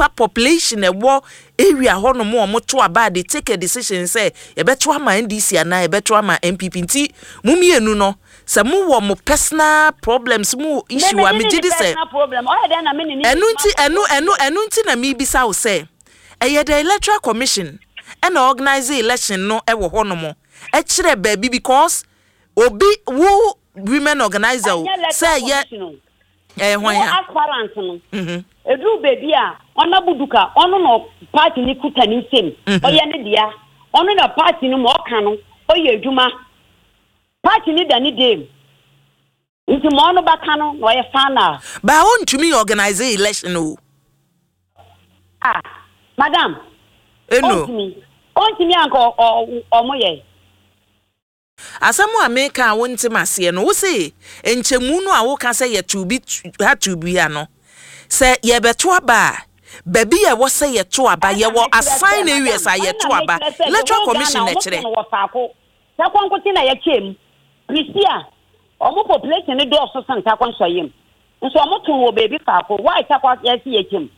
nipa population ɛwɔ area hɔ nom a wɔn to aba a they take a decision sɛ yɛbɛto ama NDC anaa yɛbɛto ama NPP. Nti mo mmienu no, sɛ mo wɔ mo personal problems, mo wɔ issue a, megye di sɛ ɛno nti ɛno ɛno ɛno nti na mebisa wo sɛ ɛyɛ the Electoral Commission ɛna organize election no ɛwɔ hɔ nom ɛkyerɛ baabi, because obi wo women organizer o sɛ ɛyɛ ɛyɛ hwan a aspirant no eduru beebi a ɔna buduka ɔno na party ni kuta ne nsam, ɔyɛ ne dea, ɔno na party no ma ɔka no ɔyɛ adwuma, party ni da ne dam, nti ma ɔno bɛka no na ɔyɛ final. Baa ɔntumi organize election o. Ah, madam. Eno. Ɔntumi anka ɔmo yɛ. Asɛm a meka a wontem aseɛ no, wo se nkyɛmu no a woka sɛ yɛto bi ha to bi ha no, sɛ yɛbɛto aba a, baabi a ɛwɔ sɛ yɛto aba, yɛwɔ assign areas a yɛto aba, Electoral Commission na ɛkyerɛ. Wɔ faako Tarkwa nkote na yɛkyɛ mu Prisia, ɔmo population no dɔɔso sen Tarkwa Nsɔyem, nso ɔmo to wɔ beebi faako. Why Tarkwa yɛsi yɛkyɛ mu?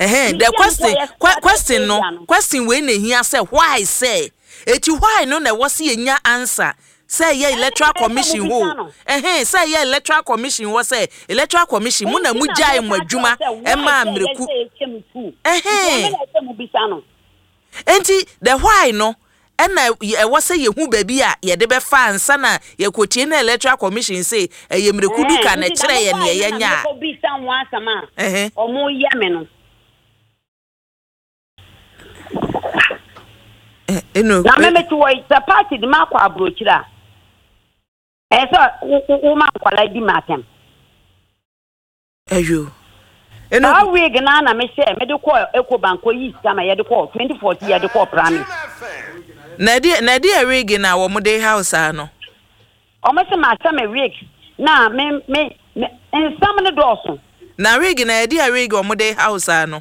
Ɛhɛn, the question no, question wei na ehia sɛ why, sɛ eti why no na ɛwɔ sɛ yɛnya answer sɛ ɛyɛ Electoral Commission hɔ, ɛhɛn, sɛ ɛyɛ Electoral Commission hɔ, sɛ Electoral Commission mu na mu gyae mo adwuma ɛmaa mmereku, ɛhɛn. Nti the why no ɛna ɛwɔ sɛ yɛhu baabi a yɛde bɛfa ansa na yɛkɔtie na Electoral Commission sɛ ɛyɛ mmereku duka na ɛkyerɛ yɛ neɛ yɛnya a. Bisa ho asɛm a ɔmo yɛ me no. Eno. Na me mete wɔ yi, sɛ party de ma akɔ aburokyire a, ɛyɛ sɛ wo ma nkwalaa di ma atɛm. Ayo. Eno. Saa wig na mehyɛ mede kɔ Ecobank kɔ yi sika ma yɛde kɔ 2014, yɛde kɔ Prame. Na ɛde yɛ wig na wɔn de house ano. Ɔmo sɛ ma ahyɛ me wig na me nsɛm no dɔɔso. Na wig na yɛde yɛ wig wɔn de house ano.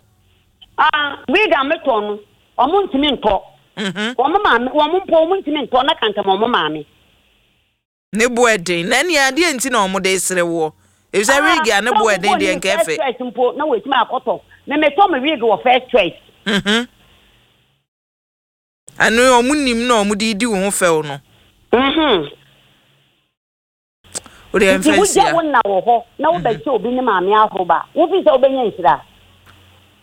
Ah, wig a metɔ no, ɔmo ntumi ntɔ. Wɔn maame, wɔn mpo wɔn ntumi ntɔ na kantam wɔn maame. Ne bo ɛden na ɛnea adeɛ nti na wɔn de sere woɔ, efisɛ wig a ne bo ɛden deɛ nka ɛfɛ. First Choice mpo na wɔatumi akɔtɔ. Me metɔ me wig wɔ First Choice. Ɛno wɔn nim na wɔn de di wɔn ho fɛw no. O de Nti ɛnfɛ wogya nsia. Wo na wɔ hɔ na wobɛkyɛ obi ne maame ahoroba, wofi sɛ wobɛnya nhyira.